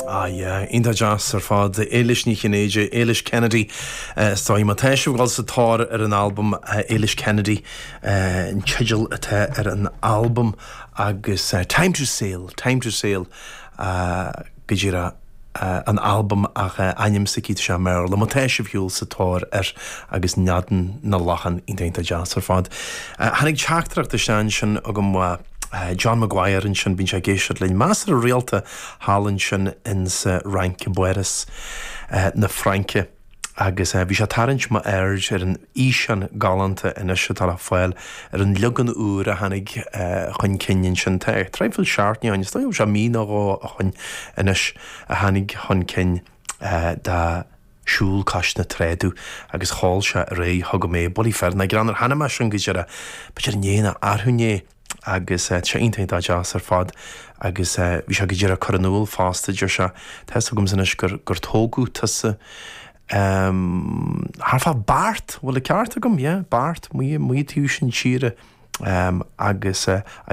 Ah yeah, iontach deas ar fad. Éilis Ní Chinnéide, Éilis Kennedy is dóigh. Má tá sibh ag dul sa tóir ar an albam Éilis Kennedy an teideal atá ar an albam agus Time to Sail, Time to Sail go díreach an albam ach ainm s'aici tá sé i mBéarla. Má tá sibh ar shiúl sa tóir air agus Neadan na Lachan iontach iontach deas ar fad. Tháinig teachtaireacht isteach ansin agam ó John Maguire ansin, bíonn sé ag éisteacht linn measartha rialta thall ansin insa Fhrainc i bPáras na Fraince agus bhí sé ag tarraingt m'aird ar an fhíseán galánta anois atá le fáil ar an leagan úr a tháinig chun cinn ansin. Tá traidhfil seachtaine ó shin, is dóigh go bhfuil sé mí nó dhó ó shin anois a tháinig chun cinn de Siúl Cois na Tráda agus sheol sé ar aghaidh chugam é. Bulaí fireann, greannmhar. Chonaic mé sin go díreach, b'fhéidir inné nó arú inné. agus tá sé iontach iontach deas ar fad agus bhí sé go díreach ag cur in iúl fosta, deir sé, tá fhios agamsa anois gur, gur tógadh tusa thart fá Beart, bhfuil an ceart agam? Yeah, Beart, amuigh, amuigh taobh sin tíre agus.